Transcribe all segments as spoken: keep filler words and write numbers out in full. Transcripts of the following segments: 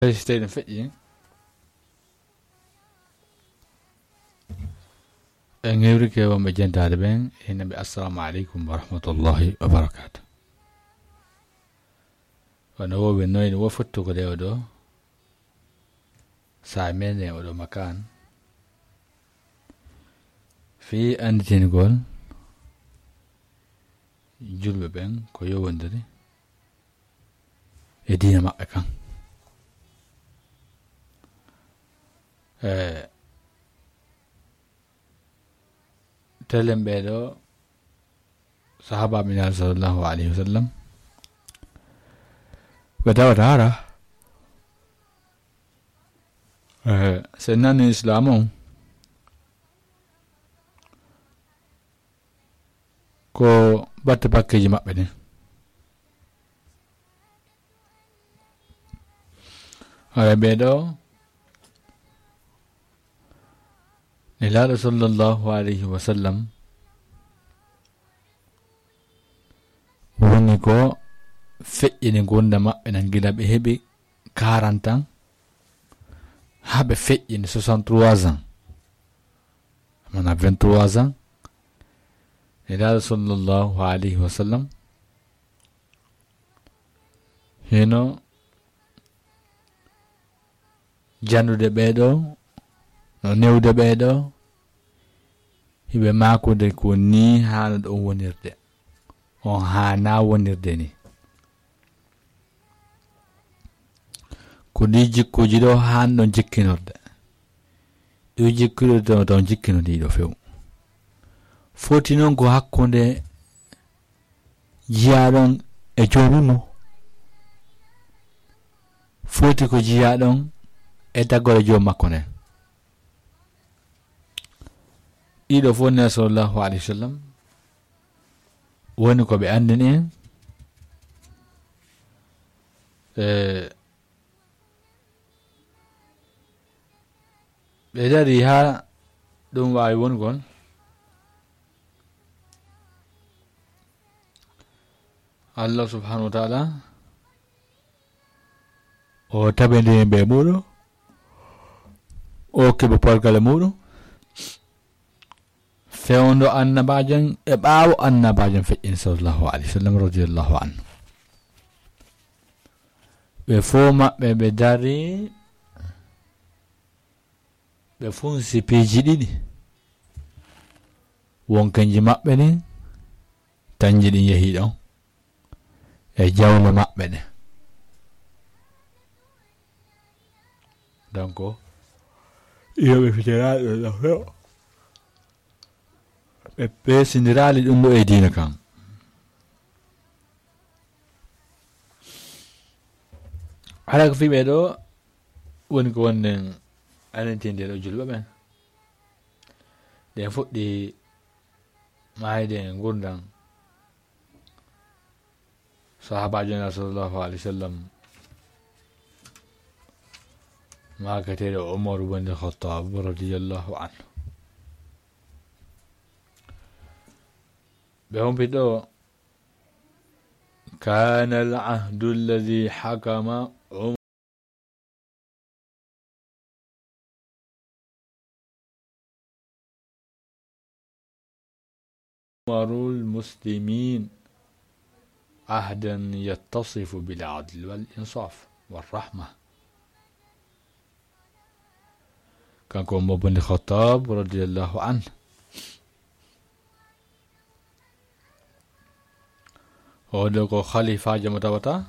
Hay so tawii ɗum feƴƴi, en hewrike wonɓe jentaade ɓen, ene ɓe, "Assalamu aleykum wa rahmatullahi wa barakatuh." Wano wo ɓe noyni, wo fottugo ɗe oɗo, so a mene oɗo makan, fii annditengol julɓe ɓen ko yowondiri e diina maɓɓe kan. E telen ɓeeɗo sahaabaaɓe Nulaaɗo sallallahu alayhi wa sallam, ɓe tawata hara, e, so en nani Islaam on, ko batte pakkeeji maɓɓe ɗin. Hara ɓeeɗo, Nelaaɗo sallallahu alayhi wa sallam woni ko feƴƴini ngurndan maɓɓe ɗan gila ɓe heɓi quarante ans, haa ɓe feƴƴini soixante-trois ans, maanaam vingt-trois ans. Nelaaɗo sallallahu alayhi wa sallam hino jannude ɓeeɗo, no newde ɓeeɗo, hiɓe maakude ko nii haana ɗum wonirde, on haana wonirde ni. Ko ɗi jikkuuji ɗo haan ɗon jikkinorde. Ɗi jikkuuji ɗo, ɗon jikkinorde ɗiɗo few. Foti noon ko hakkunde jiyaaɗon e joomi mo. Foti ko jiyaaɗon e daggol e joom makko nden. Ɗiɗo fof ne sallallahu alayhi wa sallam woni ko ɓe anndini en. E, ɓe dari haa ɗum waawi wongol. Allah subhanahu wa ta'ala o tabindini ɓe muɗum, o keɓi porgal e muɗum, fewndo annabaajo e ɓaawo annabaajo feƴƴini sallallahu alayhi wa sallam radiyallahu anhu. Ɓe fof maɓɓe ɓe dari, ɓe funsi piiji ɗiɗi. Wonkenji maɓɓe ɗin, tanji ɗin yehi ɗon e jawle maɓɓe ɗen. Donc, iyo ɓe fitiraali ɗo ɗo few. Ɓe peesindiraali ɗum ɗo e diina kan. Hara ko fii ɓe ɗo woni ko wonden anintinde ɗo julɓe ɓen. Ɗen fuɗɗi maayde e ngurndan sahaabaajo Nelaaɗo sallallahu alayhi wa sallam, maaketeeɗo Umar ibn Khattab radiyallahu anhu. Ɓe humpiti ɗo, كان العهد الذي حكم عمر المسلمين عهدا يتصف بالعدل والإنصاف والرحمة. Kanko Umar bun Khattab radiyallahu anhu, oɗo ko khalifaajo mo tawata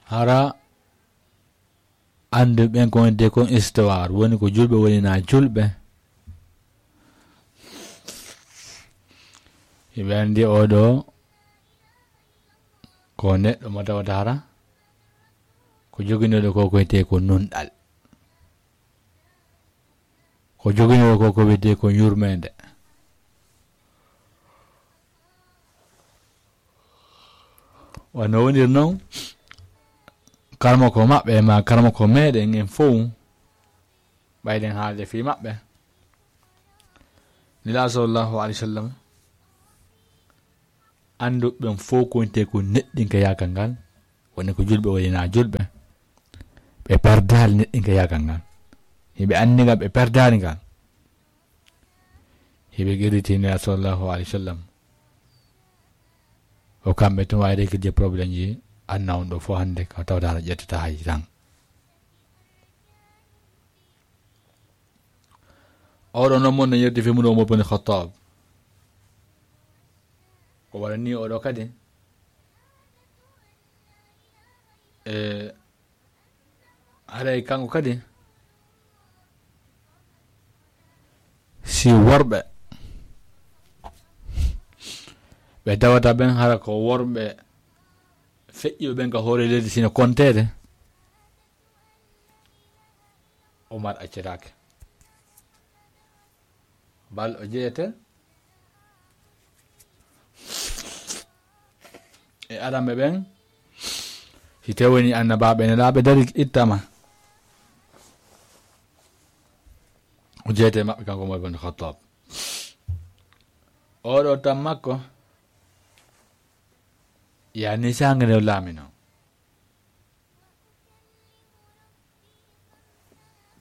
hara annduɓe ɓen ko wonde kon histoire, woni ko julɓe woni na julɓe. Hiɓe anndi oɗo ko neɗɗo mo tawata hara ko joginooɗo ko ko wiyetee ko nunɗal. Ko joginooɗo ko ko wiyetee ko yurmeende. Wano woniri non, karamoko maɓɓe ma karamoko meɗen en fow, ɓayɗen haalde fii maɓɓe. Nelaaɗo sallallahu alayhi wa sallam, annduɓe ɓen fow ko wonte ko neɗɗinka yaakal ngal, woni ko julɓe woni naa julɓe, ɓe perdaali neɗɗinkeyaagal ngal. Hiɓe anndi ngal, ɓe perdaali ngal. Hiɓe qirriti Nulaaɗo sallallahu alayhi wa sallam. Ko kamɓe tun waawi régler problème ji, anna on ɗo fof hannde ko tawata no ƴettata hay tan. Oɗo noon mon no yewti fi mun Umar bin Khattab. Ko waɗani oɗo kadi. E haray kanko kadi, si worɓe ɓe tawata ɓen, hara ko worɓe feƴƴiiɓe ɓen ka hoore leydi, sino konteede, Omar accetaake. Bal o jeyete e aramɓe ɓen, si tawii annabaaɓe nelaaɓe dari ittama, o jeyete e maɓɓe kanko Umar bin Khattab. Oɗo tan makko, yani saanga nde o laamino.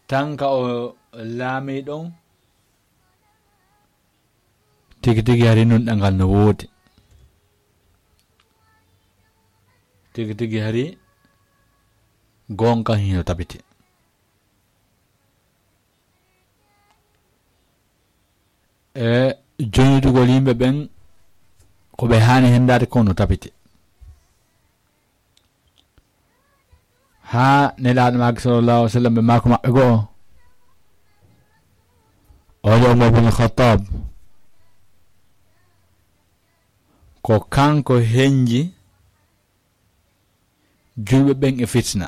Tan ka o laamii ɗon, tigi tigi hari nunɗal ngal no woodi. Tigi tigi hari goonga hino tabiti. E joñitugol yimɓe ɓen, ko ɓe haani henndaade kon no tabiti. Haa Nelaaɗo maaki sallallahu alaihi wa sallam ɓe maako maɓɓe go'o. Oɗo Umar bin Khattab, ko kanko henji julɓe ɓen e fitna.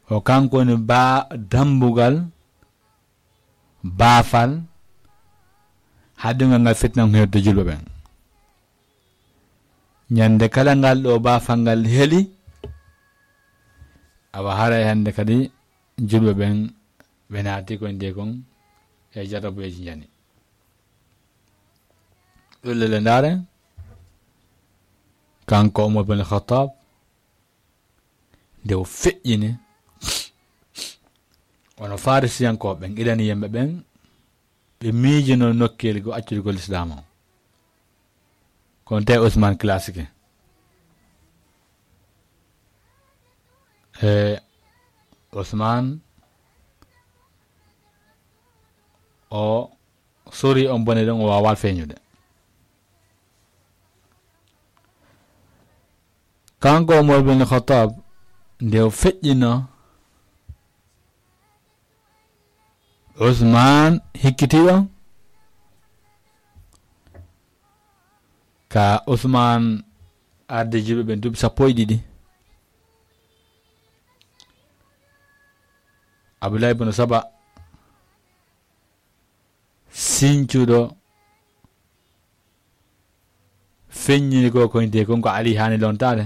Ko kanko woni ba-, dambugal, baafal, haddungal ngal fitna ko heewde julɓe ɓen. Ñande kala ngal ɗo baafal ngal heli, awa haray hannde kadi julɓe ɓen ɓe naati ko ndiyee kon e jarabuyeeji njani. Ɗulle le ndaare, kanko Umar bin Khattab, nde o feƴƴini, wano Farisiyankooɓe ɓen, Iraniyeenɓe ɓen, ɓe miijino nokkeeli goo accugol Lislaam on. Kono tawi Usmaan classique. E Usmaan o sori on bone ɗon, o waawaa feeñude. Kanko Umar bin Khattab, nde o feƴƴino Usmaan hikkitiiɗo, ka Usmaan arde julɓe ɓen duuɓi sappo e ɗiɗi. Abdullahi ibn Saba, sincuɗo, feññini ko ko ndiyee kon ko Ali haani lontaade.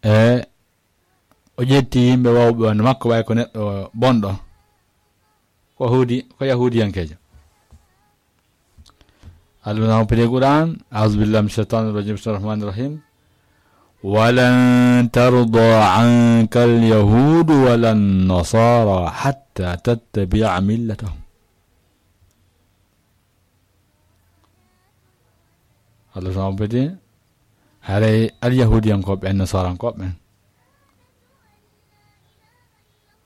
E o ƴetti yimɓe wawɓe wonde makko, ɓay ko neɗɗo bonɗo. Ko huudi, ko yahuudiyankeejo. Allah na pede Qur'an, أعوذ بالله من الشيطان الرجيم، بسم الله الرحمن الرحيم. ولن ترضى عنك اليهود ولا النصارى حتى تتبع ملتهم. Allah subhanahu wa ta'ala, haray alyahuudiyankooɓe ɓen, nasarankooɓe ɓen,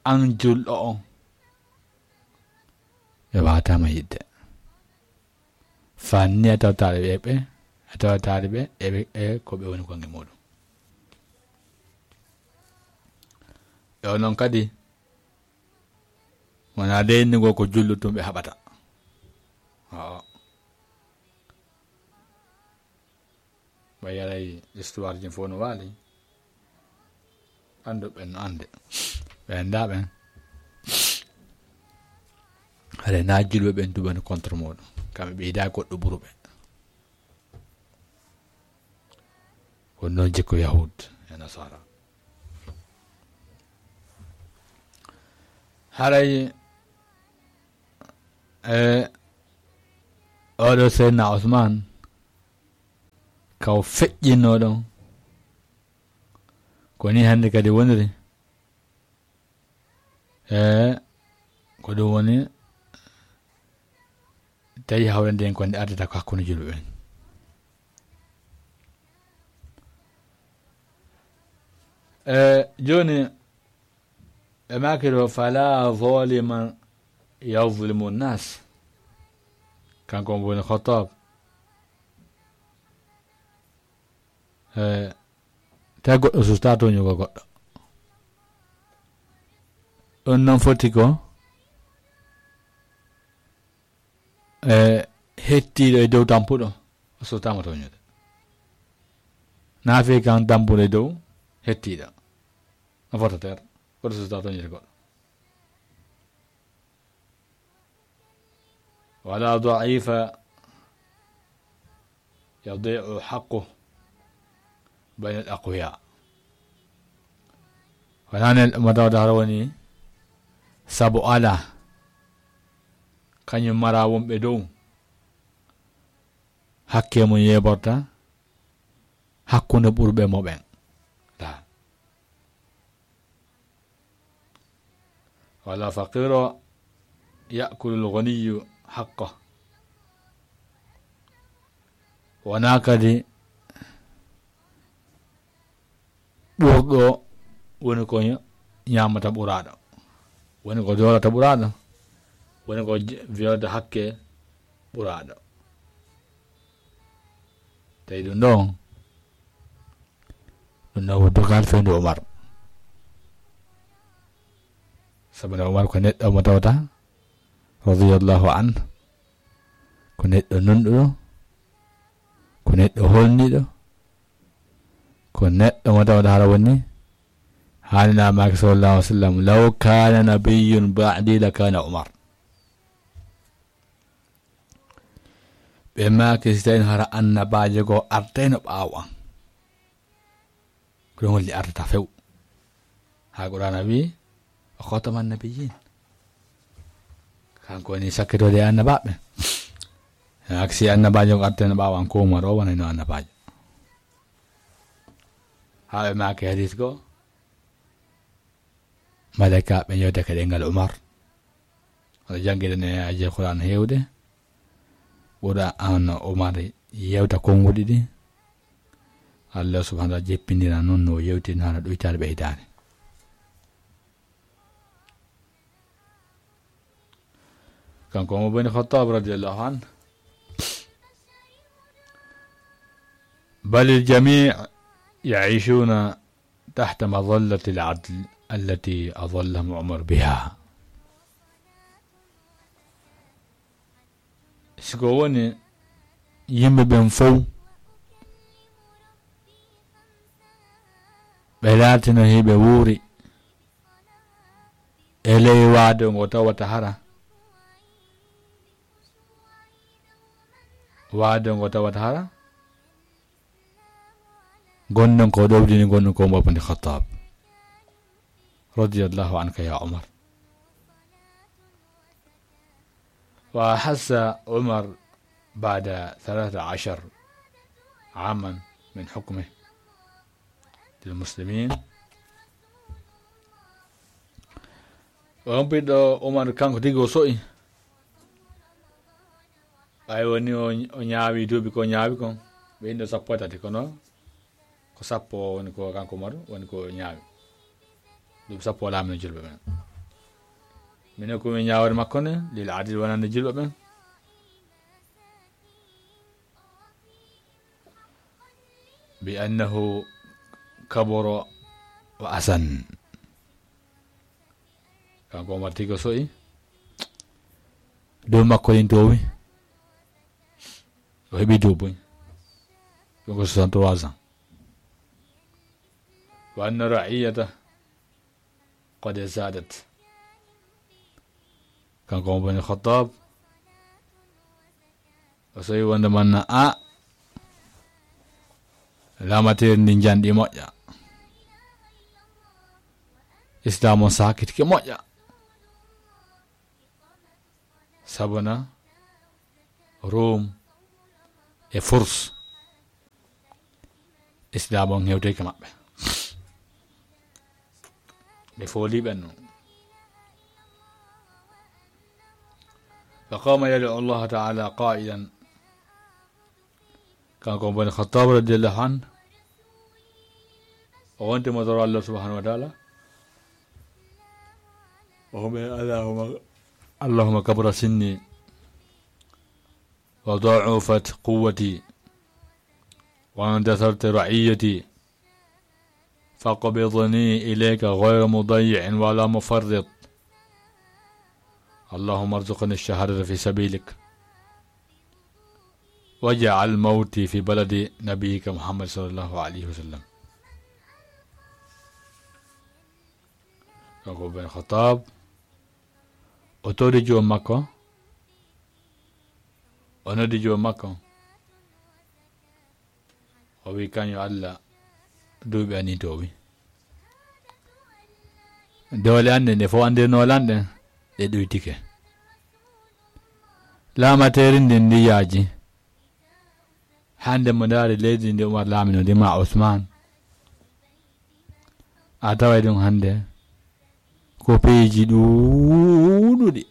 an julɗo on, ɓe waataama yiɗde. Fanni a tawtaade ɓe, ɓe, a tawtaade ɓe, e ɓe, e ko ɓe woni konge muɗum. E onon kadi, wonaa de innugol ko julɗo tun ɓe haɓata. Aa. Ɓay haray histoire jin fof no waali. Annduɓe ɓen no annde. Ɓe anndaa ɓen. Haray naa julɓe ɓen tun woni contre muɗum. Kamɓe ɓe yiɗaa goɗɗo ɓuru ɓe. Ko non jikko Yahuud e Nasaara. Haray, e, oɗo Seydina Usmaan, Kaw feƴƴinnoo ɗon. Ko nii hannde kadi woniri. E ko ɗum woni, tawi hawrande en ko nde ardata ko hakkunde julɓe ɓen. E jooni, ɓe maaki ɗo, "Fala zaliman yazlimu nas." Kanko mo woni Khattab. E, tawi goɗɗo susta tooñugo goɗɗo. Ɗon non foti ko, e, hettiiɗo e dow tampuɗo, o sustaama tooñude. Naafi kan tampuɗo e dow hettiiɗo. No fota ter, goɗɗo susta tooñude goɗɗo. Wala da'ifa yadi'u haqqu bayna al-aqwiya. Wonaa neɗɗo mo tawata hara woni sabu alaa kañum mara wonɓe dow hakke mum yeeborta hakkunde ɓurɓe mo ɓen. La. Wala faqiro ya'kulul ghaniyyu haqqah. Wonaa kadi ɓurɗo woni ko ñaamata ɓuraaɗo, woni ko joorata ɓuraaɗo, woni ko j-, violata hakke ɓuraaɗo. Tawi ɗum ɗon, ɗum ɗon ko dogal fewndo Umar. Sabu no Umar ko neɗɗo mo tawata, radiyallahu anhu, ko neɗɗo nunɗuɗo, ko neɗɗo holniɗo, ko neɗɗo mo tawata hara woni, haali na maaki sallallahu alaihi wasallam, "Law kana nabiyyun ba'di la kana Umar." Ɓe maaki, "Si tawi hara annabaajo goo artayno ɓaawo an." Ko ɗum holli ardata few. Haa Qur'aana wi'i, "Wa khataman nabiyyin." Kanko woni sakkitooɗo e annabaaɓe. Ak si annabaajo ko artayno ɓaawo an, ko Umar o wonayno annabaajo. Haa ɓe maaki hadis ko, malaykaaɓe yewtake ɗemngal Umar. Oɗo janngina en e aayeeje Qur'aan heewde. Ɓura an Umar yewta konnguɗi ɗi. Allah subhanahu wa ta'ala jeppindira non no yewtino hana ɗuytaade ɓeydaade. Kanko Umar bin Khattab radiyallahu anhu. بل الجميع يعيشون تحت مظلة العدل التي أظلهم عمر بها. Si ko woni, yimɓe ɓen fow, ɓe laatino hiɓe wuuri e ley waado ngo tawata hara, waado ngo tawata hara, gonɗon ko ɗowdini, gonɗon ko Umar bin Khattab. رضي الله عنك يا عمر. وأحس عمر بعد ثلاثة عشر عاما من حكمه للمسلمين. On ɓiɗɗo Umar, kanko tigi o so'i. Ɓay woni o, o ñaawi duuɓi ko ñaawi kon, ɓe inɗo sappo e tati, kono ko sappo woni ko kanko Umaru woni ko ñaawi. Duuɓi sappo o laamino julɓe ɓen. Minen ko min ñaawore makko ne, lil adil wonande julɓe ɓen. Bi annahu kabura wa asan. Kanko Umar tigi o so'i. Duuɓi makko ɗin toowi. O heɓi duuɓi. Ɗum ko soixante-trois ans. Wa anna ra'iyata qad zadat. Kanko Umar bin Khattab, o so'i wonde manna a laamateeri ndi njanɗi moƴƴa. Islaam on saakitike moƴƴa. Sabuna Rum e Furs. Islaam on hewteke maɓɓe. Ɓe fooli ɓen non. فقام يدعو الله تعالى قائلا. Kanko Umar bin Khattab radiyallahu anhu, o wonti mo toro Allah subhanahu wa ta'ala. O wi, اللهم، اللهم كبر سني وضعفت قوتي واندثرت رعيتي فاقبضني إليك غير مضيع ولا مفرط. اللهم ارزقني الشهادة في سبيلك واجعل موتي في بلد نبيك محمد صلى الله عليه وسلم. Kanko Umar bin Khattab, o tawde joom makko, o noddi joom makko. O wi, kañum Allah, duuɓi an ni to wi. Doole an ɗen, ɗe fof anndirnoo lan ɗen, ɗe ɗuytike. Laamateeri ndin ndi yaaji. Hannde mo ndaari leydi ndi Umar laamino ndi ma Usmaan. A taway ɗum hannde ko piiji ɗuuɗuɗi.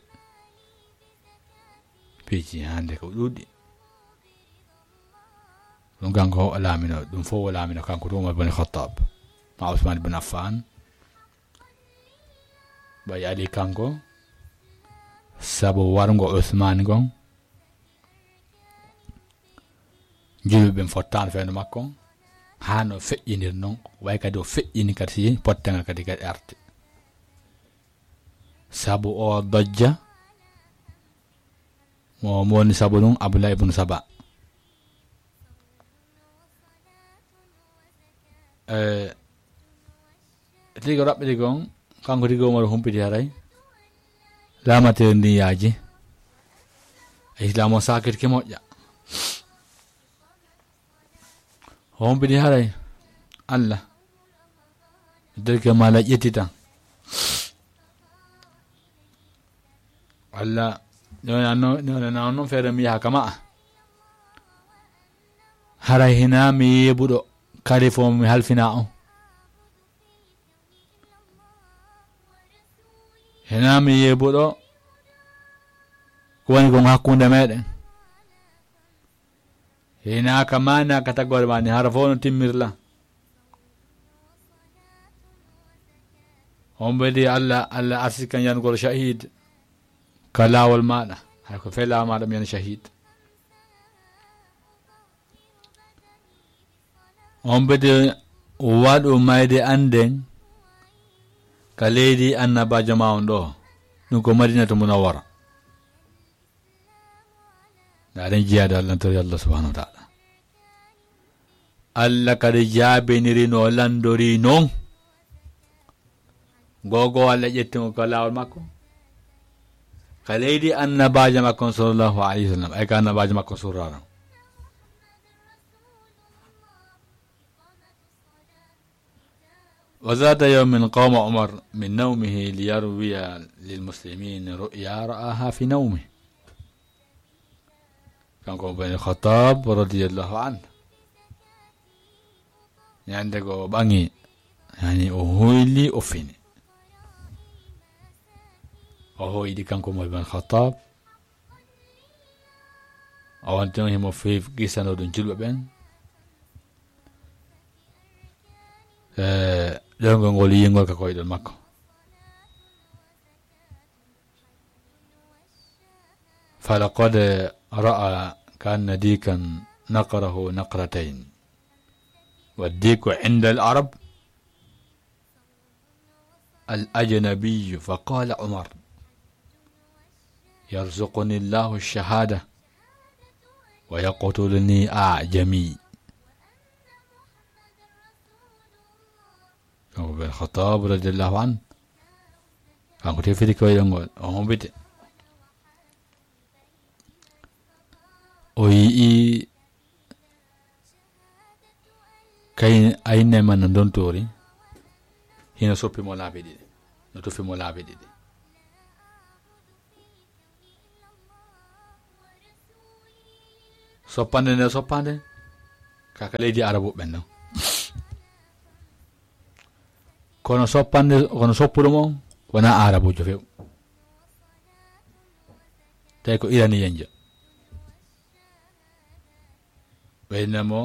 Piiji hannde ko ɗuuɗi. Ɗum kanko o laamino, ɗum fof o laamino kanko to Umar bin Khattab. Ma Usmaan bin Affaan. Ɓay Ali kanko, sabu warngo Usmaan ngon, julɓe ɓen fottaano fewndo makko, haa no feƴƴinir non, way kadi o feƴƴini kadi si pottangal kadi kadi arti. Sabu o dojja, mo, mo woni sabu ɗum Abdullah ibn Saba. E, tigi raɓɓiɗi kon, kanko tigi Umar humpiti haray. Laamateeri ndin yaaji. E Islaam o saakitike moƴƴa. O humpiti haray. Allah. Derke mala ƴettitan. Allah, newna no, newna na on non feere mi yaha kama. Haray hina mi yeebuɗo kadi fof mi halfina on. Hina mi yeebuɗo ko woni kon hakkunde meɗen. Hina ka maana ka tagore ma ni hara fof no timmirla. On ɓeydi Allah, Allah arsikan yangol shahid ka laawol maɗa. Hay ko fe laawol maɗa mi yan shahid. On ɓeydi waɗu mayde an nden ka leydi annabajo ma on ɗo. Ɗum ko Madinatu Munawwara. Ndaaren jiyaade Allah, tori Allah subhanahu wa ta'ala. Allah kadi jaabiniri no lanndori non. Gogo Allah ƴetti mo ka laawol makko. Ka leydi annabaajo makko on sallallahu alayhi wa sallam. Ay ka annabaajo makko on surraano. وذات يوم قام عمر من نومه ليروي للمسلمين رؤيا رآها في نومه. Kanko Umar bin Khattab radiyallahu anhu. Ñande go o ɓaŋi, yani o hoyli, o fini. O hoyɗi kanko Umar bin Khattab. O wonti on himo feewi gisano ɗum julɓe ɓen. E, ɗoyngol ngol yingol ka koyɗol makko. فلقد رأى كأن ديكا نقره نقرتين. والديك عند العرب الأجنبي، فقال عمر: يرزقني الله الشهادة ويقتلني أعجمي. Kanko ben Khattab radiyallahu anhu, kanko tefiti koyɗol ngol, o hombite. O yi'i kay ayne man no ndontori, hino soppi mo laabi ɗiɗi, no tufi mo laabi ɗiɗi. Soppande nde soppande, kaka leydi Arabu ɓen non. Kono soppande, kono soppuɗo mo wonaa Aarabuujo few. Tawi ko Iraniyenjo. Ɓeyna mo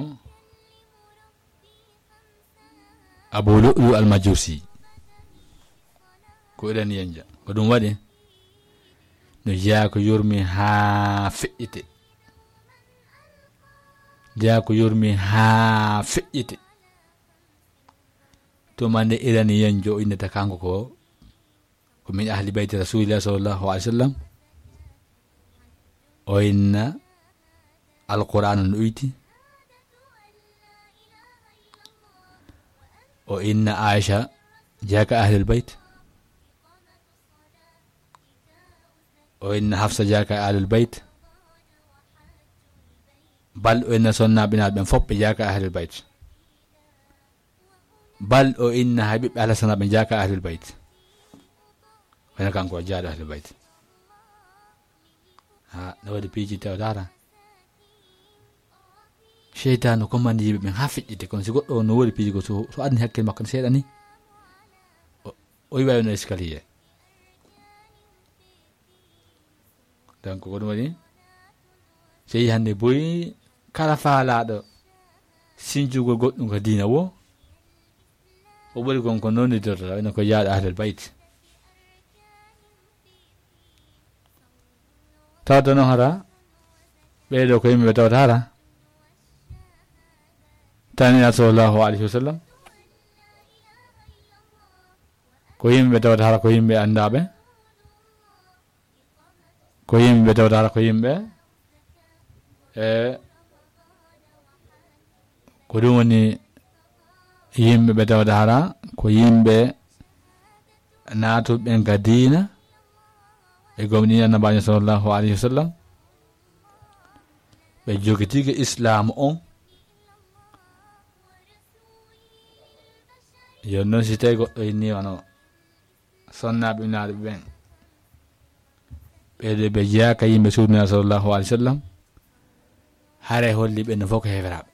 Abu Lu'lu al Majusi. Ko Iraniyenjo. Ko ɗum waɗi no jeyaa ko yurmi haa feƴƴiti. Jeyaa ko yurmi haa feƴƴiti. Tuma nde Iraniyenjo o innata kanko ko, ko min ahli bayti Rasulillah sallallahu alaihi wasallam. O inna Alqur'aana no ɗoyti. O inna Aisha jeyaa ka ahlul bayt. O inna Hafsa jeyaa ka ahlul bayt. Bal o inna sonnaaɓe naaɓe ɓen fof ɓe jeyaa ka ahlul bayt. Bal o inna hay ɓiɓɓe Alhasana ɓe jeyaa ka ahlul bayt. Kono kanko o jeyaaɗo ahlul bayt. Ha, no waɗi piiji tawata hara. Seytaane ko mandi yimɓe ɓen haa feƴƴiti, kono si goɗɗo on no woodi piiji ko so, so adni hakkille makko ne seeɗa ni. O, o yiwa no escalier. Donc ko ɗum waɗi, so yi hannde boyi kala faalaaɗo sinjugol goɗɗum ko diina wo, o ɓuri kon ko nonnidirta, wayno ko jeyaaɗo ahlul bayt. Tawata noon hara, ɓee ɗoo ko yimɓe ɓe tawata hara tani sallallahu alayhi wa sallam. Ko yimɓe ɓe tawata hara ko yimɓe anndaaɓe. Ko yimɓe ɓe tawata hara ko yimɓe. E ko ɗum woni yimɓe ɓe tawata hara ko yimɓe naatuɓe ɓen ka diina. Ɓe gomɗini Annabaajo sallallahu alayhi wa sallam. Ɓe jogitike Islaam on. Yo non si tawi goɗɗo inni wano sonnaaɓe naaɓe ɓen. Ɓe de ɓe jeyaaka yimɓe suudu Nulaaɗo sallallahu alayhi wa sallam. Hare holli ɓe no fof ko heeferaaɓe.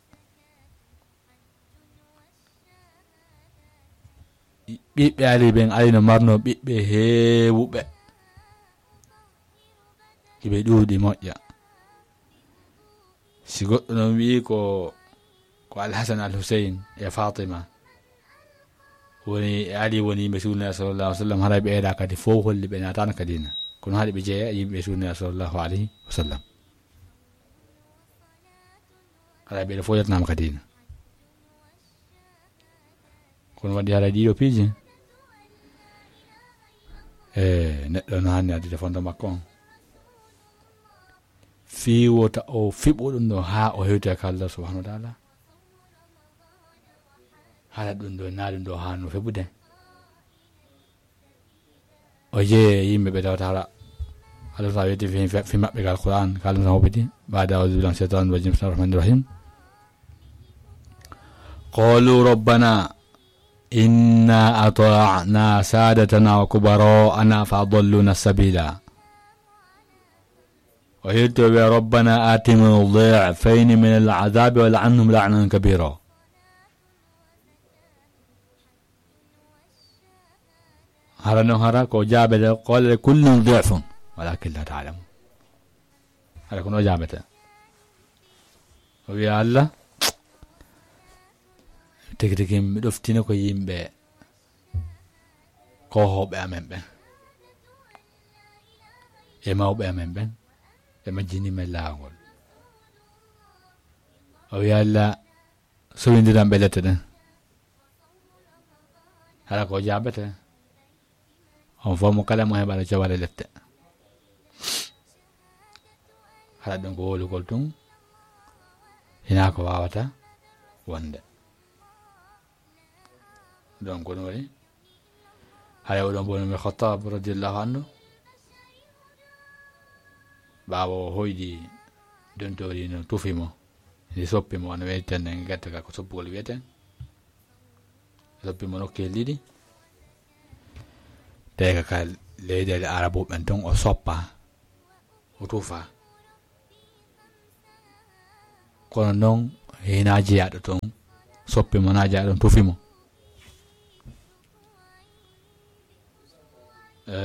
Ɓiɓɓe Ali ɓen, Ali no marno ɓiɓɓe heewuɓe. Hiɓe ɗuuɗi moƴƴa. Si goɗɗo noon wi'i ko, ko Al Hasan Al Huseyn e Fatima woni, e Ali woni yimɓe suudu Nulaaɗo sallallahu alayhi wa sallam, haray ɓe eeɗa kadi fof holli ɓe naataano ka diina. Kono haɗi ɓe jeeya yimɓe suudu Nulaaɗo sallallahu alayhi wa sallam. Haray ɓe fof yaltanaama ka diina. Kono waɗi haray ɗiɗo piiji. E neɗɗo no hanni addude fondo makko on. Fii wota o fiɓo ɗum ɗo haa o hewtoya ka Allah subhanahu wa ta'ala. Haɗa ɗum ɗo, naa ɗum ɗo haa no feɓude. O jeye yimɓe ɓe tawata hara. Allah sa weeti fi, fi, fi maɓɓe ka Alquran, ka Allah sa hoɓiti. Baada a'udhu billahi minash shaitanir rajim. Bismillahir rahmanir rahim. Qalu rabbana inna ata'na sadatana wa kubara'ana fa adalluna sabila. O hirto wiya, "Rabbana atimhum di'fayni min al-'adhabi wal'anhum la'nan kabira." Hara non hara ko jaabete, qala kullun di'fun walakin la ta'lamun. Hara ko no jaabete. O wiya, "Allah, tigi tigi mi ɗoftina ko yimɓe koohooɓe amen ɓen, e mawɓe amen ɓen, ɓe majjini men laawol." O wiya, "Allah, sowindiran ɓe lette ɗen." Hara ko jaabete. On fof mo kala mo heɓata cowale lette. Hara ɗum ko wowlugol tun. Hinaa ko waawata wonde. Donc, ko ɗum waɗi, hara oɗon Umar ibn Khattab radiyallahu anhu, ɓaawo o hoyɗi dontori no tufi mo, ndi soppi mo, wano weeteten en gatta ka ko soppugol wiyeten. Soppi mo nokkeli ɗiɗi. Tawi ka, ka leyɗeele Arabu ɓen ton o soppa. O tufa. Kono noon, hinaa jeyaaɗo toon, soppi mo, naa jeyaaɗo toon, tufi mo. E,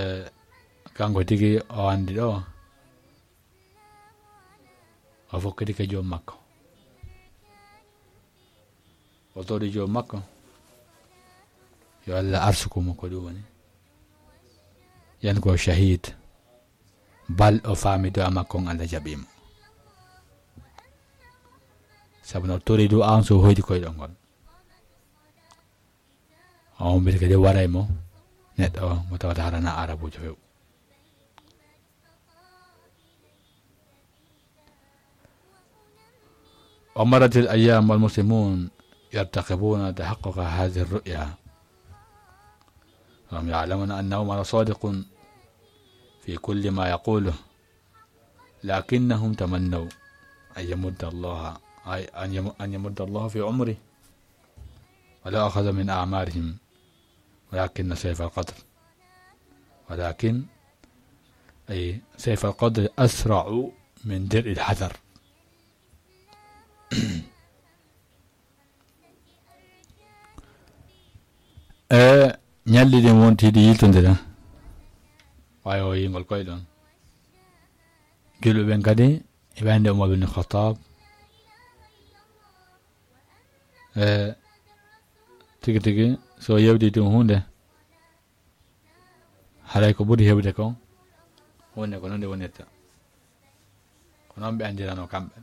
kanko tigi o anndi ɗo, o fokkiti ka joom makko. O tori joom makko, yo Allah arsuku mo ko ɗum woni. Yan ko shahid, bal o faami du'a makko on, Allah jaɓi mo. Sabu no tori du'a on, so hoydi koyɗol ngol. O mbiti kadi waray mo neɗɗo o mo tawata harana arabujo few. ومرت الأيام والمسلمون يرتقبون تحقق هذه الرؤيا، وهم يعلمون أن عمر صادق في كل ما يقوله، لكنهم تمنوا أن يمد الله، أي أن يم-، أن يمد الله في عمره ولو أخذ من أعمارهم، ولكن سيف القدر، ولكن، أي سيف القدر أسرع من درع الحذر. E ñalli ɗin wonti ɗi yiltondira. Waawi o yingol koye ɗon. Julɓe ɓen kadi, e ɓeynde Umar bin Khattab. E tigi tigi, so yewti tun huunde, haray ko ɓuri heewde kon, huunde ko non nde wonirta. Ko non ɓe anndirano kamɓe.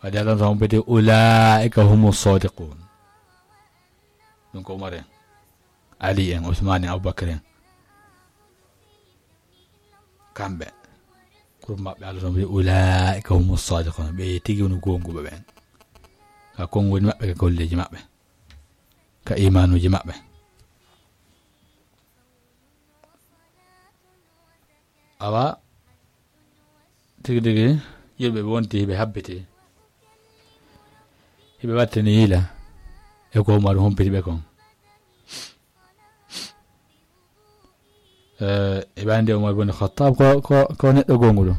Wadde Allah on mbiyete, "Ulaa'ika humu sadiqun." Ɗum ko Umar en, Ali en, Usmaan en, Abubakar en. Kamɓe, groupe maɓɓe, Allah on mbiyete, "Ulaa'ika humu sadiqun." Ɓe tigi woni goonguɓe ɓen. Ka konngol maɓɓe, ka golleeji maɓɓe, ka iimaanuuji maɓɓe. Awa, tigi tigi, yimɓe ɓe wonti hiɓe habbiti, hiɓe wattini yila e ko Umar humpiti ɓe kon. Eh, hiɓe anndi Umar bin Khattab ko, ko, ko neɗɗo goonguɗo.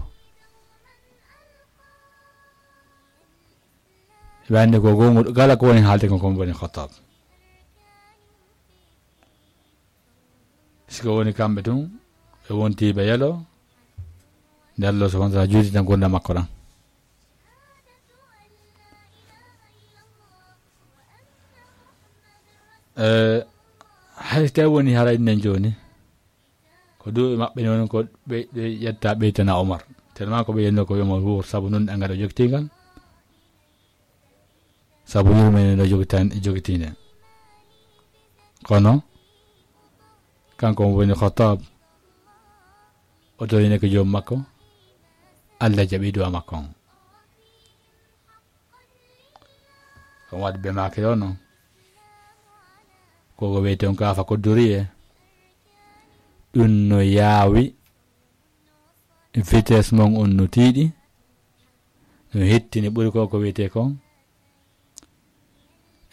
Hiɓe anndi ko goonguɗo, kala ko woni haalde kon ko Umar bin Khattab. Siko woni kamɓe tun, ɓe wonti ɓe yelo, nde Allah subhanahu wa ta'ala juuti tan gurnda makko ɗan. Eh, hay so tawi woni hara innen jooni, ko duuɓi maɓɓe ni woni ko ɓe, ɓe ƴetta ɓeytana Omar. Tellement ko ɓe yenno ko wiya mo wuur, sabu nun ɗan ngaɗa jogtingal. Sabu yurmeende no jogitan-, jogitiinde. Kono, kanko mo woni Khattab, o torine ko joom makko, Allah jaɓi du'a makko on. Ko waɗi ɓe maaki ɗo non. Ko ko wiyete on kaafa ko duriye. Ɗum no yaawi vitesse mon on no tiiɗi. No hettini ɓuri ko ko wiyete kon.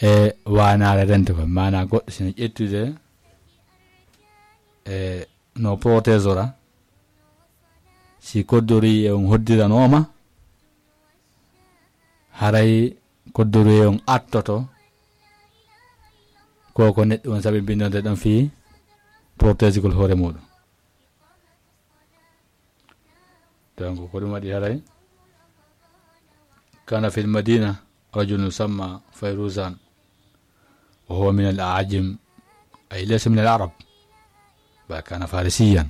E waanaare rento kon. Maanaa goɗɗo sino ƴettude e no protégora, si koddori e on hoddiranooma, haray koddori e on attoto, ko ko neɗɗo on sabi bindande ɗon fii protégegol hoore muɗum. Donc, ko ɗum waɗi haray, kana fil Madina rajulun yusamma Fayruzan, wa huwa min al aajim, ay laysa min al arab, bal kana farisiyan.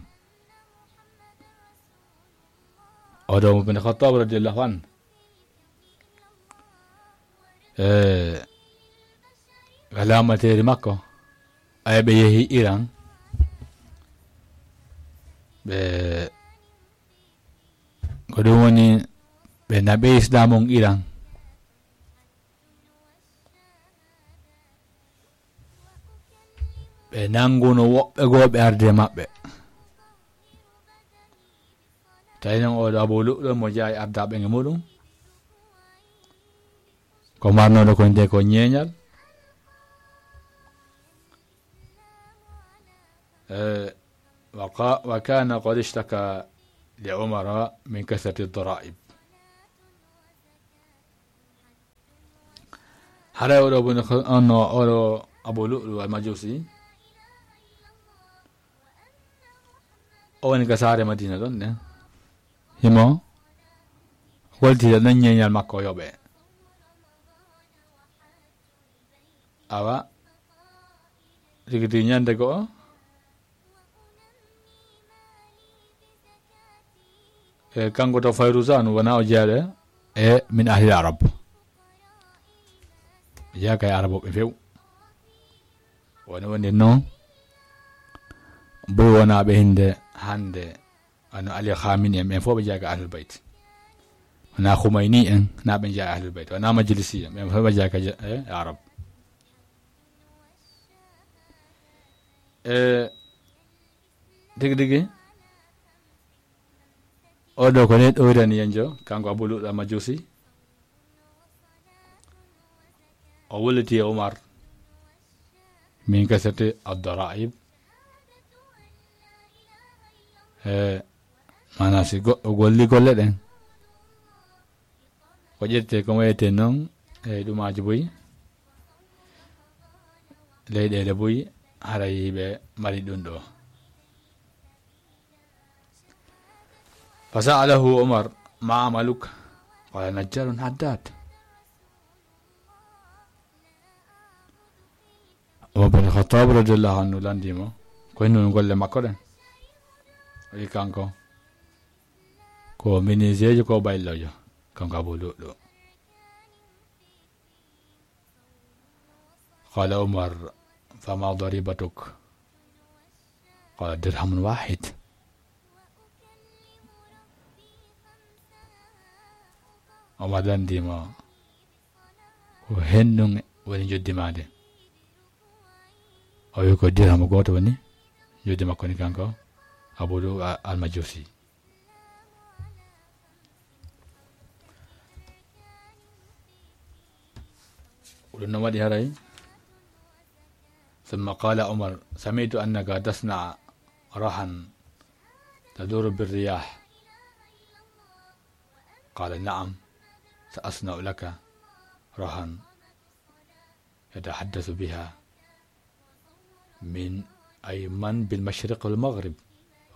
Oɗo mo bin Khattab radiyallahu anhu, e alamateeri makko, ay ɓe yehi Iran, ɓe, ko ɗum woni ɓe naɓe Islam on Iran. Ɓe nannguno woɓɓe goo ɓe arde maɓɓe. Tawi noon oɗo Abu Lu'lu mo jeyaa e ardaaɓe e muɗum. Ko marnooɗo ko nde ko ñeeñal. Eh, wa qa-, wa kana qad ishtaka li Umara min kathrati ad-dara'ib. Haray oɗo bone ko, on no, oɗo Abu Lu'lu al-Majusi, O woni ka saare Madina ɗon ne. Himo goltida ɗon ñeeñal makko o yoɓe. Awa, tigi tigi ñande goo, e, kanko to Fayruzan wona o jeeɗo e min ahlil Arab. O jeeya kay Arab ɓe few. Woni woni noon, boy wonaaɓe hinde hande, wano Ali Khamenei en, ɓen fof ɓe jeeya ka Ahlul Bayt. Wona Khomeini en, na ɓe jeeya Ahlul Bayt. Wona Majlisi en, ɓen fof ɓe jeeya ka je-, e, Arab. E, tigi tigi, oɗo ko neɗɗo Iraniyanjo, kanko Abu Lu'lu al-Majusi. O wulliti e Umar min kasete Ad-Dara'ib. E, maanaa si goɗɗo golli golle ɗen, ko ƴettee ko wiyetee noon e ɗumaaji buy, leyɗeele buy, haray hiɓe mari ɗum ɗo. فسأله عمر: ما عملك؟ قال: نجار حداد. Umar bin Khattab radiyallahu anhu lanndii mo, ko honɗum golle makko ɗen? O wi'i kanko, ko menuisier-jo, ko bayloojo, kanko Abu Lu'lu. قال عمر: فما ضريبتك؟ قال: درهم واحد. Umar lanndii mo, ko honɗum woni njoddi maa ndin? O wi'i ko dirham gooto woni njoddi makko ni kanko Abu Lu'lu a-, al-Majusi. Ko ɗum no waɗi haray. ثم قال عمر: سمعت أنك تصنع رحا تدور بالرياح. قال: نعم، سأصنع لك رحا يتحدث بها من أي من بالمشرق والمغرب.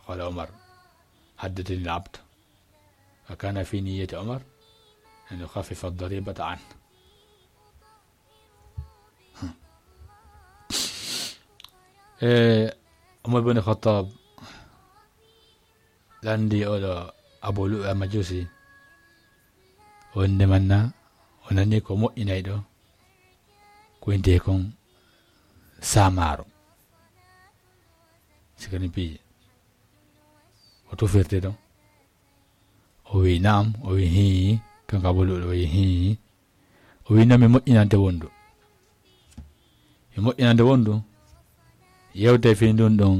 قال عمر: حدثني العبد، فكان في نية عمر أن يخفف الضريبة عنه. E, Umar bin Khattab lanndii oɗo Abu Lu'lu al-Majusi, wonde manna o nani ko moƴƴinay ɗo, ko wi'etee kon saamaaro. Sikani piiji. O tufirte ɗon. O wi'i, "Naam." O wi'i, "Hii." Kanko Abu Lu'lu o wi'i, "Hii." O wi'i, "Non mi moƴƴinante wondu. Mi moƴƴinante wondu." Yewte fii ndun ɗon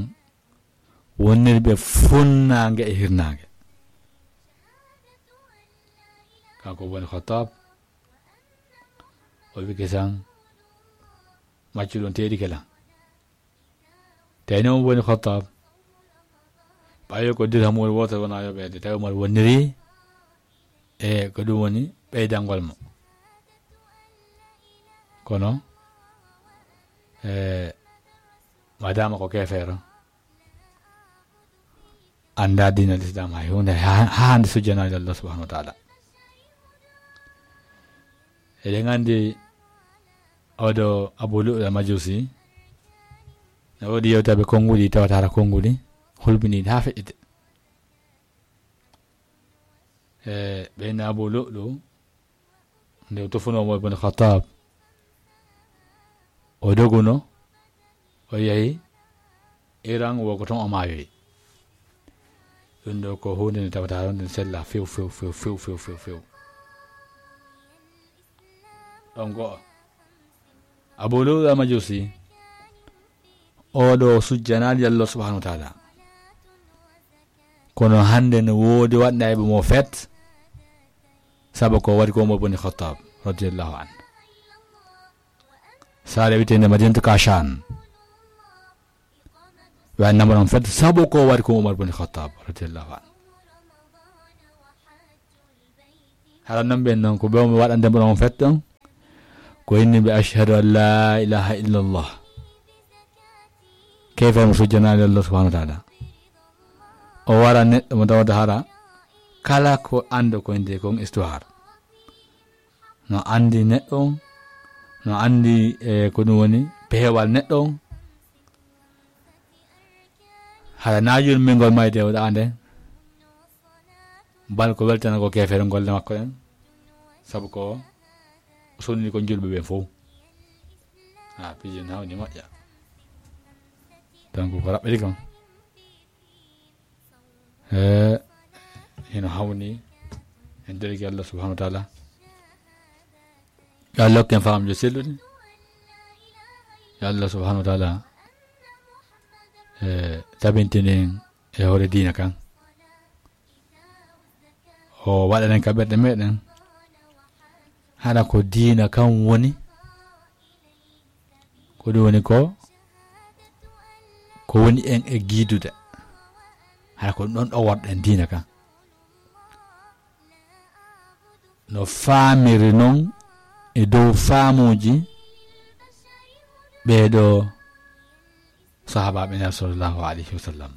wonnirɓe funnaange e hirnaange. Kanko Bani Khattab, o wi'i kisan, "Maccuɗo on teeɗike lan." Tawi noon woni Khattab, ɓayo ko dirham woni wootere wona yoɓeede, tawi Umar wonniri e ko ɗum woni ɓeydangol mo. Kono, e, madama ko keefeero, anndaa diina Lislaam hay huunde, haa, haa hannde sujjanaade Allah subhanahu wa taala. Eɗen anndi oɗo Abu Lu'lu al-Majusi, ne woodi yewtaɓe konnguɗi tawata hara konnguɗi hulɓiniiɗi haa feƴƴite. E, ɓeyna Abu Lu'lu, nde o tufunoo Umar bin Khattab, o doguno, o yahi Iran, wo ko toon o maayoyi. Ɗum ɗo ko huunde nde tawata ɗon nde sella few, few, few. Ɗon go'o. Abu Lu'lu al-Majusi, oɗo sujjanaali Allah subhanahu wa taala. Kono hannde no woodi waɗnayɓe mo feet, sabu ko waɗi ko Umar bin Khattab radiyallahu anhu. Saare wi'eteende Madinatu Kashan. Ɓe waɗnama ɗon feet, sabu ko waɗi ko Umar bin Khattab radiyallahu anhu. Hara non ɓen non ko ɓe waɗande mo ɗon feet ɗon, ko inni ɓe, "Ashhadu an la ilaha illallah." Kayfa mo sujjanaali Allah subhanahu wa taala. O wara neɗɗo mo tawata hara kala ko annda ko wiyetee kon histoire. No anndi neɗɗo on, no anndi, e, ko ɗum woni peewal neɗɗo on. Hara na jooni min ngol mayde o ɗaande. Bal ko weltana ko keefeero golle makko en. Sabu ko o sonnii ko julɓe ɓen fof. Ha, piiji en hawni moƴƴa. Donc ko raɓɓiɗi kon. E, hino hawni en dergi Allah subhanahu wa ta'ala. Yo Allah hokku en faamde sellude. Yo Allah subhanahu wa ta'ala, e, tabintinen e hoore diina kan. O waɗanen ka ɓerɗe meɗen. Hara ko diina kan woni. Ko ɗum woni ko, ko woni en e giidude. Hara ko ɗon ɗo worɗen diina kan. No faamiri non e dow faamuuji ɓee ɗoo sahaabaaɓe Nelaaɗo sallallahu alayhi wa sallam.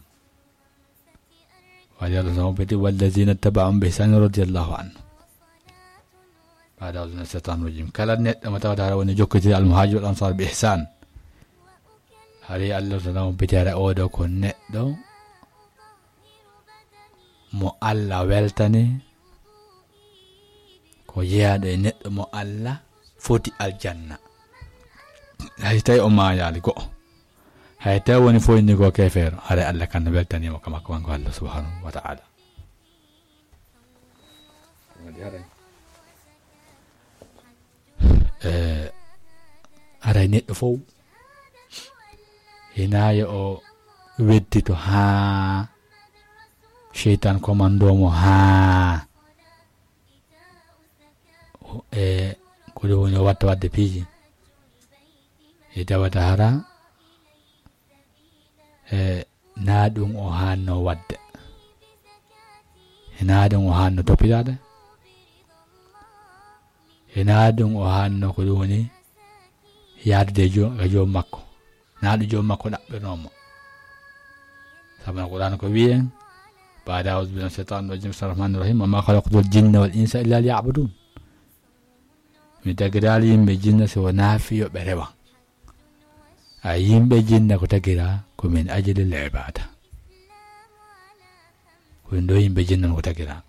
Waɗi Allah subhanahu wa ta'ala, "Wallazina taba'um bi ihsan radiyallahu anhu." Baada auzu mina shaytan rajim. Kala neɗɗo mo tawata hara woni jokkitiri al muhajir wal ansar bi ihsan. Hari Allah subhanahu wa ta'ala, hara oo ɗoo ko neɗɗo mo Allah weltani, ko jeyaaɗo e neɗɗo mo Allah foti aljanna. Hay tawi o maayaali go'o. Hay tawi woni fof inni ko keefeero, haray Allah kan no weltaniima ka makko kanko Allah subhanahu wa ta'ala. E, haray neɗɗo fof, hinaa yo o weddito haa seytan komando mo haa, e, ko ɗum woni o watta wadde piiji. E tawata hara, e, na ɗum o haanno wadde. E na ɗum o haanno toppitaade. E na ɗum o haanno ko ɗum woni yaadude e jo-, e joom makko. Na ɗum joom makko ɗaɓɓirnoo mo. Sabu no Qur'an ko wi'i en, baada auzu billahi mina shaytani rajim, bismillahi rahmani rahim, "Wa ma khalaqtul jinna wal insa illa liya'budun." Mi tagiraali yimɓe jinna si wonaa fii yo ɓe rewa. A yimɓe jinna ko tagira ko min ajli l ibada. Ko ɗo yimɓe jinna ko tagira.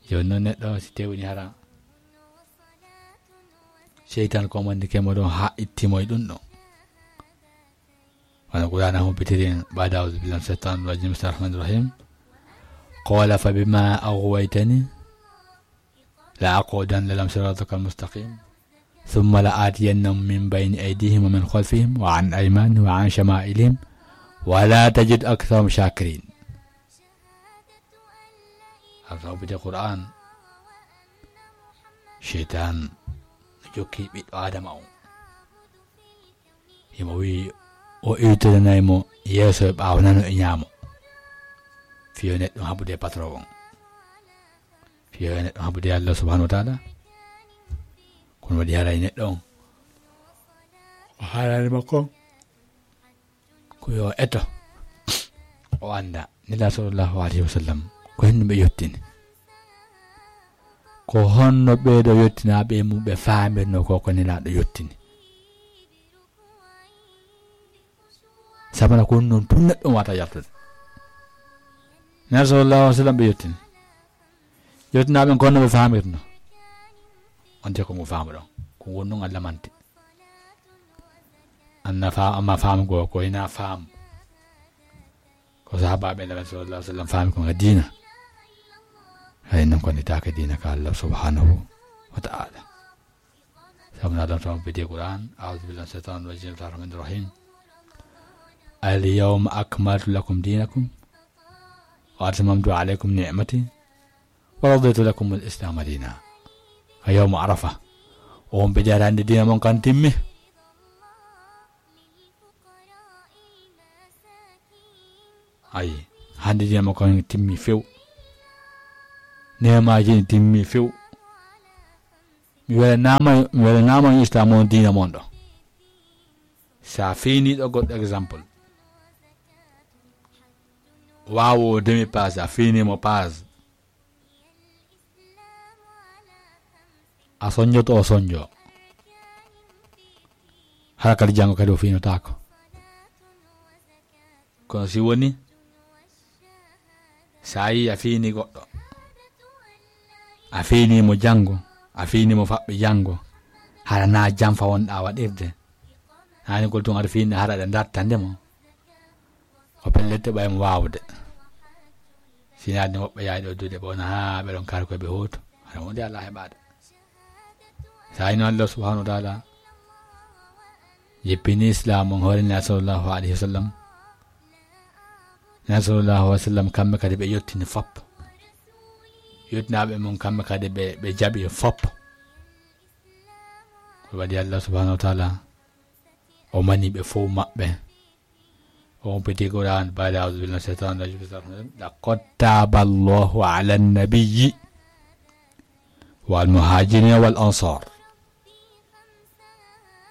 Jooni noon neɗɗo si tewni hara seytan ko mandi kemo ɗon haa ittimo e ɗum ɗon. Wano Qur'ana humpitiri en, baada auzu billahi mina shaytani rajim, bismillahi rahmani rahim. Qala fa bima aghwaytani la aqudanna lahum siratakal mustaqim. Thumma la atiyannahum min bayni aydihim wa min khalfihim wa an aymanihim wa an shama'ilihim wa la tajid aktharahum shakirin. Hara humpite Qur'an, seytan no jokki ɓiɗɗo Adama on. Himo wi'i o iwtiranay mo yeeso e ɓaawo, nano e ñaamo. Fiyo neɗɗo haɓude e patron on. Fiyo neɗɗo haɓude e Allah subhanahu wa ta'ala. Kono waɗi haray neɗɗo on, o haalaani makko ko yo eto, o annda Nelaaɗo sallallahu alayhi wa sallam ko henno ɓe yottini. Ko honno ɓeeɗo yottinaaɓe e mum ɓe faamirno ko ko Nelaaɗo yottini? Sabana ko ɗum noon tun neɗɗo wata yaltude. Nelaaɗo sallallahu alayhi wa sallam ɓe yottini. Yottinaaɓe ko honno ɓe faamirno? On te ko mo faamuɗon. Ko ngon ɗum Allah manti. Anna fa-, amma faamu ko, ko ina faamu. Ko sahaabaaɓe Nelaaɗo sallallahu alayhi wa sallam faami ko nga diina. Hay non kon itaaka diina ka Allah subhanahu wa ta'ala. Sabu na ɗon tawon bidi Qur'an, a'udhu billahi minash shaitanir rajim, bismillahir rahmanir rahim. Al yawma akmaltu lakum dinakum wa atmamtu alaykum ni'mati wa raditu lakum al islama dina. Ka yawma Arafa. On ɓe jara hannde diina mon kan timmi. Ayi, hannde diina mon kan timmi few. Neemaaji ɗin timmi few. Mi welanaama, mi welanaama on Islaam on diina mon ɗo. Sa fiini ɗo goɗɗo exemple. waawo demi paas, a fiini mo paas. A sonjoto, o sonjo. Hara kadi janngo kadi o fiinotaako. Kono si woni, so a yii a fiini goɗɗo, a fiini mo janngo, a fiini mo faɓɓe janngo, hara na janfa wonɗa waɗirde. Hani gol tun aɗa fiini hara aɗa dartande mo. Ko pellet ɓay mo waawde. Sinaade woɓɓe yaade o duuɗe ɓe wona haa ɓe ɗon kar koye ɓe hooto. Hara wonde Allah heɓaade. Sa ino Allah subhanahu wa ta'ala yeppini Islam on hoore Nulaaɗo sallallahu alayhi wa sallam. Nulaaɗo sallallahu alayhi wa sallam kamɓe kadi ɓe yettini fop. Yettinaaɓe mum kamɓe kadi ɓe, ɓe jaɓi fop. Ko waɗi Allah subhanahu wa ta'ala o mani ɓe fof maɓɓe. On petit Qur'an, baada أعوذ بالله من الشيطان الرجيم. بسم الله الرحمن الرحيم. لقد تاب الله على النبي والمهاجرين والأنصار.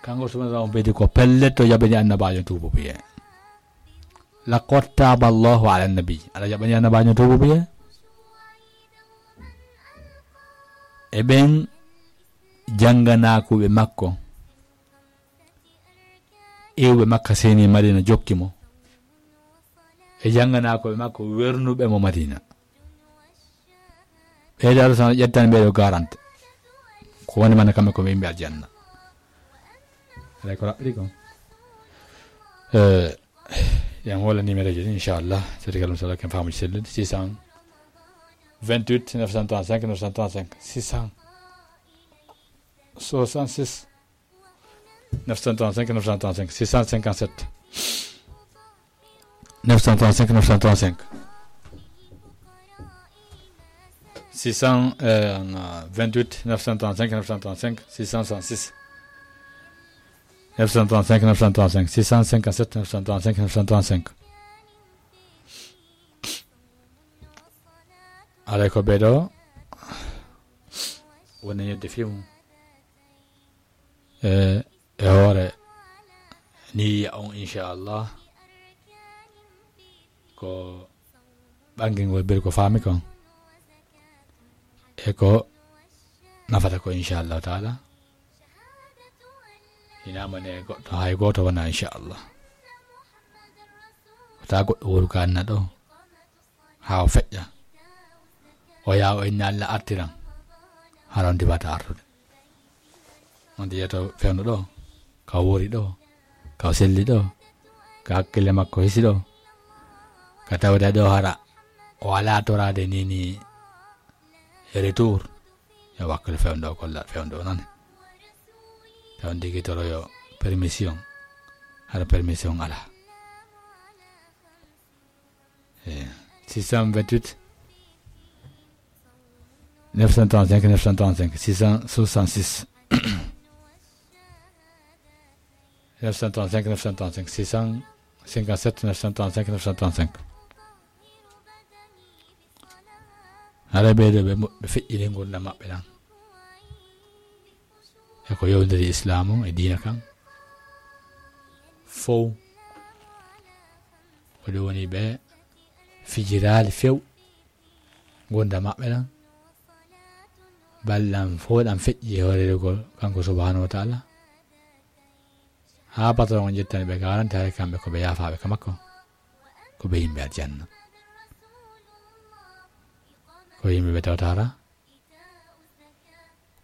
Kanko subhanahu wa ta'ala on ɓeydi ko pellet o jaɓani annabaajo tuubuɓe. لقد تاب الله على النبي. Alla jaɓani annabaajo tuubuɓe. E ɓen jannganaakuɓe makko. Iwɓe Makka seeni Madina jokki mo. E jannganaakoɓe makko wernuɓe mo Madina. Ɓe daaro tan ƴettani ɓe ɗo garante. Ko woni mana kamɓe ko ɓe yimɓe aljanna. Alay ko raɓɓiɗi ko. Eh, yan wala numéro ji, inchallah. Sedi kalum sala ken faamuji sellude. Six cent vingt-huit neuf cent trente-cinq neuf cent trente-cinq. Six cent soixante-six neuf cent trente-cinq neuf cent trente-cinq, six cent cinquante-sept neuf cent trente-cinq neuf cent trente-cinq. Six cent vingt-huit neuf cent trente-cinq neuf cent trente-cinq, six cent soixante-six neuf cent trente-cinq neuf cent trente-cinq, six cent cinquante-sept neuf cent trente-cinq neuf cent trente-cinq. Alay ko ɓeɗo woni yedde fimu. E, e hoore niyya on, inchallah, ko ɓangingol bir ko faami kon. E ko nafata ko, inchallahu taala. Hinamane goɗɗo, hay gooto wona, inchallah. Ko ta goɗɗo wolu ka anna ɗo. Haa o feƴƴa. O yaha o inna Allah artiran. Hara on diwata artude. On yeeto fewndo ɗo. Ka o wori ɗo. Ka o selli ɗo. Ka hakkille makko hisi ɗo. Ka tawda ɗo hara. O ala torade nini retour. Yo wakkil fewndo o kolla fewndo o nane. Taw ndigi toro yo permission. Hara permission ala. Eh, six cent vingt-huit neuf cent trente-cinq neuf cent trente-cinq, six cent soixante-six. Neuf cent trente-cinq neuf cent trente-cinq, six cent cinquante-sept neuf cent trente-cinq neuf cent trente-cinq. Hara ɓe ɗo ɓe mo-, ɓe feƴƴini ngurndan maɓɓe ɗan. E ko yowndiri Islaamu e diina kan. Fow. Ko ɗum woni ɓe fijiraali few ngurndan maɓɓe ɗan. Balɗe ɗan fow ɗan feƴƴi e hooreyugol kanko subhanahu wa taala. Haa patron on ƴettani ɓe garanti haray kamɓe ko ɓe yaafaaɓe ka makko. Ko ɓe yimɓe aljanna. Ko yimɓe ɓe tawta hara.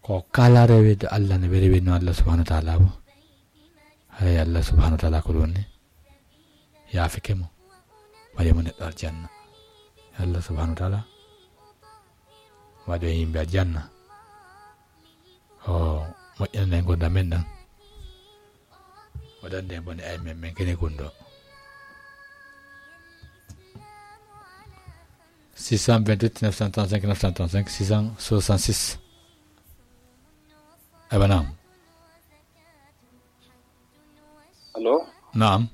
Ko kala rewiɗo Allah no ɓe rewino Allah subhanahu wa taala bo. Haray Allah subhanahu wa taala ko ɗum ni. Yaafike mo. Waɗi mo neɗɗo aljanna. Allah subhanahu wa taala waɗi o yimɓe aljanna. O moƴƴinana en ngurndan men ɗan. O dande en bone ay men, men kene gundo. Six cent vingt-huit neuf cent trente-cinq neuf cent trente-cinq, six cent soixante-six. Aywa, naam. Allo? Naam.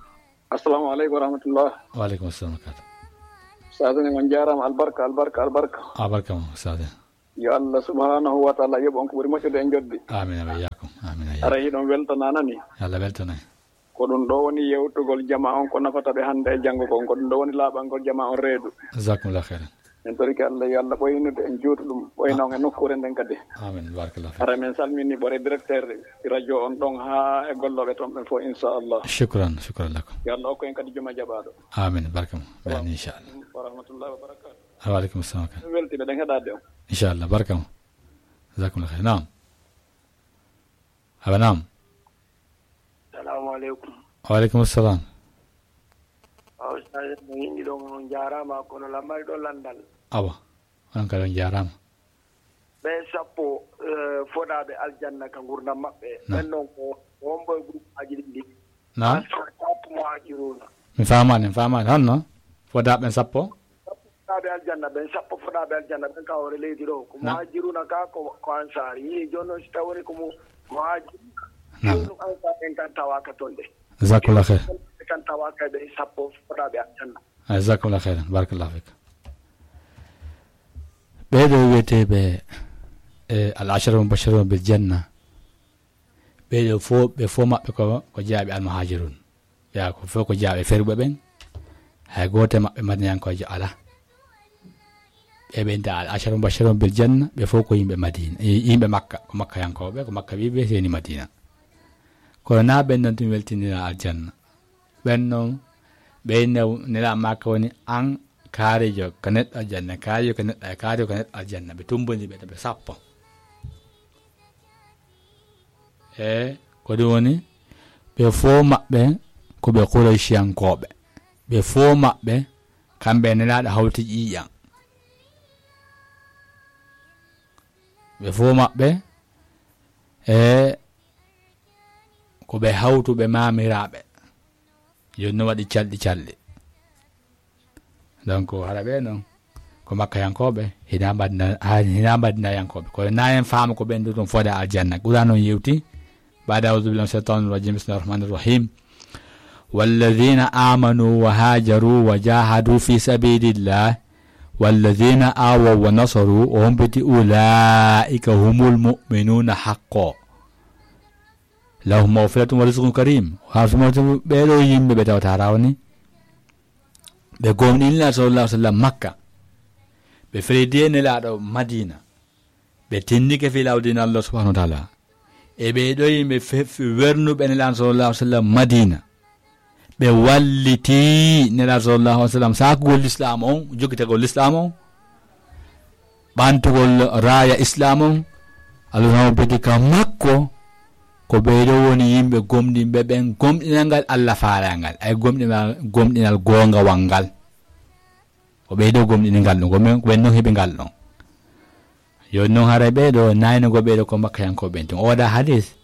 Assalamu aleykum wa rahmatullah. Wa aleykum assalam wa rahmatullah. Saade ne, on jaaraama, albarka, albarka, albarka. Albarka mo, Saade. Yo Allah subhanahu wa taala yoɓ on ko ɓuri moƴƴude e joddi. Amin, amin, yaakum. Amin, yaakum. Ara hiɗon weltana nani? Allah weltanay. Ko ɗum ɗo woni yewtugol jama on ko nafata ɓe hannde e janngo kon. Ko ɗum ɗo woni laaɓangol jama on reedu. Jazakumullah khairan. En torike Allah, yo Allah ɓoynude en juutu ɗum, ɓoyna on e nokkuure nden kadi. Amin, barakallah fik. Hara min salmini ɓore directeur radio on ɗon haa e gollooɓe ton ɓen fof, inchallah. Shukran, shukran lakum. Yo Allah okku en kadi juma jaɓaaɗo. Amin, barka mo. Amin, inchallah. Wa rahmatullahi wa barakatuh. Wa alaikum salam. Welti ɓe ɗen heɗaade on. Inchallah, barka mo. Jazakumullah khair. Naam. Awa naam. Salamu alaikum. Wa alaikum salam. Awa, ustaz, no yimɓe ɗon, on jaaraama, kono lamari ɗo landal. Awa, on kala on jaaraama. Ɓe sappo, eh, fodaaɓe aljanna ka ngurdam maɓɓe. Naam. Ɓen non ko, ko hombo e groupe aji ɗiɗi? Naam. Ansar, muhajiruna. Mi faamaani, mi faamaani. Honno? Fodaaɓe ɓen sappo? Sappo fodaaɓe aljanna ɓen, sappo fodaaɓe aljanna ɓen ka hoore leydi ɗo. Ko muhajiruna ka, ko, ko ansar. Yi, jooni non si tawori ko mu-, muhajiruna. Naam. Jooni ɗum ansar en kan tawaaka ton ɗe. Jazakallah khair. Kan tawaaka ɓe sappo fodaaɓe aljanna. Ah, jazakumullah khairan. Barakallahu fik. Ɓee ɗo wiyeteeɓe, eh, al ashara mubashirun bil janna. Ɓee ɗo fof, ɓe fof maɓɓe ko, ko jeyaaɓe al muhajirun. Ɓeya ko fof ko jeyaaɓe ferɓe ɓen. Hay gooto e maɓɓe madinayankoojo alaa. Ɓe ɓen ta al ashara mubashirun bil janna, ɓe fof ko yimɓe Madina, eh, yimɓe Makka, ko makkayankooɓe, ko Makka ɓiɓɓe seeni Madina. Kono na ɓen non tun weltinira aljanna. Ɓen non, ɓe new-, nela Makka woni an kaarijo ka neɗɗo aljanna, kaarijo ka neɗɗo, kaarijo ka neɗɗo aljanna. Ɓe tumbondiri ɓe, ɓe sappo. E ko ɗum woni, ɓe fof maɓɓe ko ɓe Qurayshiyankooɓe. Ɓe fof maɓɓe, kamɓe e Nelaaɗo hawti ƴiiƴam. Ɓe fof maɓɓe, e ko ɓe hawtuɓe maamiraaɓe. Jooni no waɗi calɗi calɗi. Donc, hara ɓe non ko makkayankooɓe, hina Madina, ha, hina madinayankooɓe. Kono na en faama ko ɓen ɗum foda aljanna. Qur'an on yewti, بعد أعوذ بالله من الشيطان الرجيم، بسم الله الرحمن الرحيم. والذين آمنوا وهاجروا وجاهدوا في سبيل الله والذين آووا ونصروا وهم بت-، أولئك هم المؤمنون حقا. لهم مغفرة ورزق كريم. Haa so ɓee ɗo yimɓe ɓe tawata hara woni ɓe gomɗini Nelaaɗo sallallahu alaihi wasallam Makka. Ɓe feridi e Nelaaɗo Madina. Ɓe tindike fii laawol diina Allah subhanahu wa ta'ala. E ɓee ɗo yimɓe fe-, fe-, wernuɓe Nelaaɗo sallallahu alaihi wasallam Madina. Ɓe walliti Nelaaɗo sallallahu alaihi wasallam saakugol Lislaam on, jokkitagol Lislaam on, ɓantugol raaya Islaam on. Allah subhanahu wa ta'ala ka makko, ko ɓee ɗo woni yimɓe gomɗinɓe ɓen, gomɗinal ngal Allah faalaa ngal, ay gomɗinal, gomɗinal goongawal ngal. Ko ɓee ɗo gomɗini ngal ɗum, ko men, ko ɓen non heɓi ngal ɗon. Yo non haray ɓee ɗo nayno go ɓee ɗo ko makkayankooɓe ɓen tun. O waɗa hadis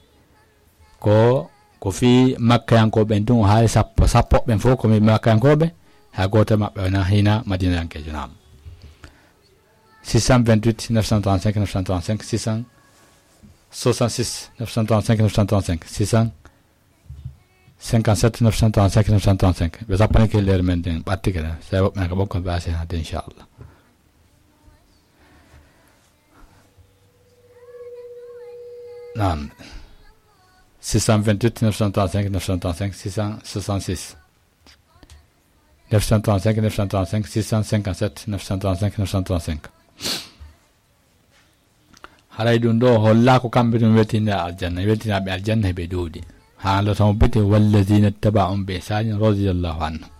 ko, ko fii makkayankooɓe ɓen tun, o haali sappo, sappo ɓen fof ko mi makkayankooɓe, haa gooto maɓɓe wona hina madinayankeejo, naam. Six cent vingt-huit neuf cent trente-cinq neuf cent trente-cinq, six cent soixante-six neuf cent trente-cinq neuf cent trente-cinq, six cent cinquante-sept neuf cent trente-cinq neuf cent trente-cinq. Ɓe sappani ke leer men den ɓatti ke den. Sai woɓɓe na ka ɓokko ɓe asi hade, inchallah. Naam. Six cent vingt-huit neuf cent trente-cinq neuf cent trente-cinq, six cent soixante-six. Neuf cent trente-cinq neuf cent trente-cinq, six cent cinquante-sept neuf cent trente-cinq neuf cent trente-cinq. Haray ɗum ɗo holla ko kamɓe ɗum weltinira aljanna, weltinaaɓe aljanna heɓe ɗuuɗi. Haa Allah tan bite, "Wallazina taba'um bi ihsanin radiyallahu anhum."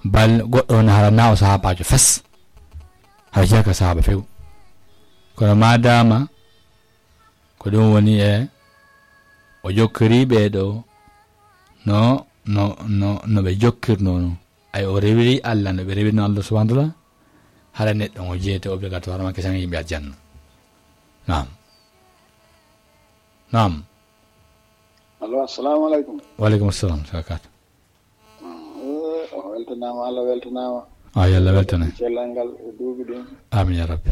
Bal goɗɗo on hara na o sahaabaajo fes. Hara jaka sahaaba few. Kono maadaama ko ɗum woni e o jokkiri ɓe ɗo no, no, no, no ɓe jokkirnoo no. Ay, o rewiri Allah no ɓe rewirno Allah subhanahu wa ta'ala. Hara neɗɗo o jeete obligatoire ma kesan yimɓe aljanna. Naam. Naam. Allo, assalamu alaikum. Wa alaikum assalam, sakat. Eh, o weltanaama, Allah weltanaama. Ah, yo Allah weltane. Cellal ngal e duuɓi ɗin. Amin ya rabbi.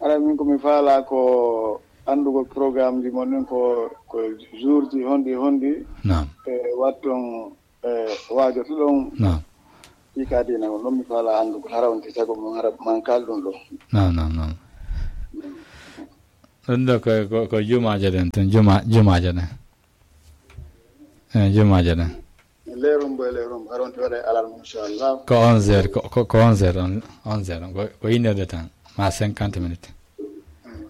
Ara min ko mi faala ko anndugol programme ji mon ɗin ko, ko jour ji honɗi honɗi. Naam. E watton, e waajoto ɗon. Naam. Fii ka diina on ɗon mi faala anndugol hara on ti sago mon hara man kaal ɗum ɗo. Naam, naam, naam. Ɗum ɗo ko, ko, ko jumaaje ɗen tun, juma-, jumaaje ɗen. Eh, jumaaje ɗen. Leerum boy, leerum. Aronti waɗa e alarme, inchallah. Ko onze heures, ko, ko, ko onze heures, on, onze heures, ko, ko une heure de temps, ma cinquante minutes.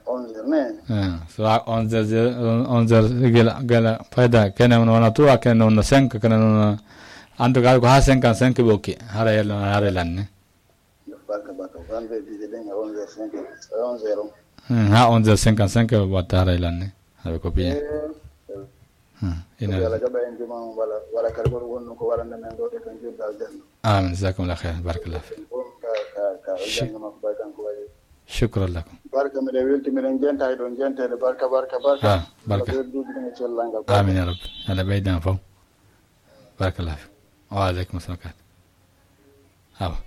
Onze heures, ne? Eh, so a onze heures, onze heures, gila, gila, fayda, kene wona, wona trois, kene wona cinq, kene wona, en tout cas, ko ha cinquante-cinq ɓe okki, hara yello, hara lanni. Barka, barka. Vendredi ɗen e onze heures cinq, onze heures. Hmm, ha onze heures cinquante-cinq watta haray lanne. Haɓe ko piye. Eh, hmm, ina Allah jaɓa en juma on wala, wala kala goto wonno ko warande men ɗo de kan jodda aljanna. Amin, jazakumullah khair, barakallah fik. Ka, ka, ka, shi- aljanna makko bay kanko waɗi. Shukran lakum. Barka, miɗen welti, miɗen jenta e ɗon jentede. Barka, barka, barka. Ah, barka. Allah ɓeydu duɗi ɗum e cellal ngal. Amin ya rabbi. Allah ɓeydan fof. Barakallah fik. Wa alaikum assalam kadi. Awa.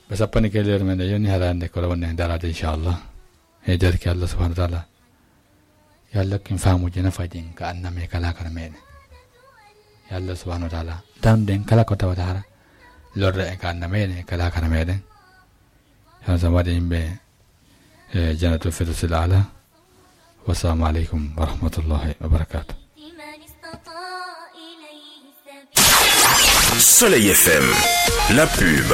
Ɓe sappani ke leer men de yoni harande ko wonde darade inchallah. E darki Allah subhanahu wa ta'ala. Yo Allah kin famuji na fajin ka anname kala kala meɗen. Yo Allah subhanahu wa ta'ala. Dan den kala ko tawata hara. Lorre en ka anname ne kala kala meɗen. Yan sama de yimɓe, eh, Jannatul Firdausil Aala. Wassalamu alaikum wa rahmatullahi wa barakatuh. Soleil F M, la pub.